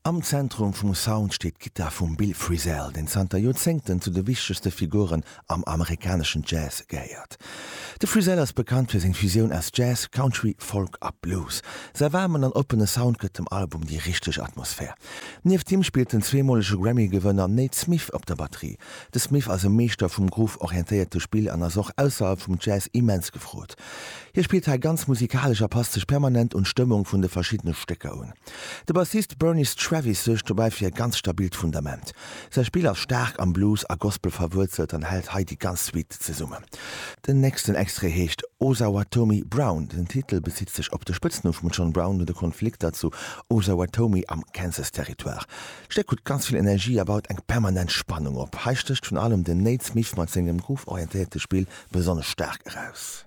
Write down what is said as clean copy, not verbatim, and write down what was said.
Am Zentrum vum Sound steet d'Gittar vum Bill Frisell, deen zanter Joerzéngten zu de wichtegste Figuren am amerikaneschen Jazz gehéiert. De Frisell ass bekannt fir seng Fusioun aus Jazz, Country, Folk a Blues. Säi waarmen an oppene Sound gëtt dem Album déi richteg Atmosphär. Nieft him spillt den zweemolege Grammy-Gewënner Nate Smith op der Batterie. De Smith ass e Meeschter vum groove-orientéierte Spill an ass och ausserhalb vum Jazz immens gefrot. Hie spillt hei ganz musikalesch a passt sech permanent un d'Stëmmung vun de verschiddene Stécker un. De Bassist Burniss Travis suergt dobäi fir e ganz stabilt Fundament. Säi Spill ass staark am Blues a Gospel verwuerzelt an hält hei déi ganz Suite zesummen. Den nächsten Extrait heescht Osawatomie Brown. Den Titel bezitt sech op de Spëtznumm vum John Brown no de Konflikter zu Osawatomie am Kansas-Territoire. D'Stéck huet ganz vill Energie a baut eng permanent Spannung op. Hei stécht virun allem den Nate Smith mat sengem groove-orientéierte Spill besonnesch staark eraus.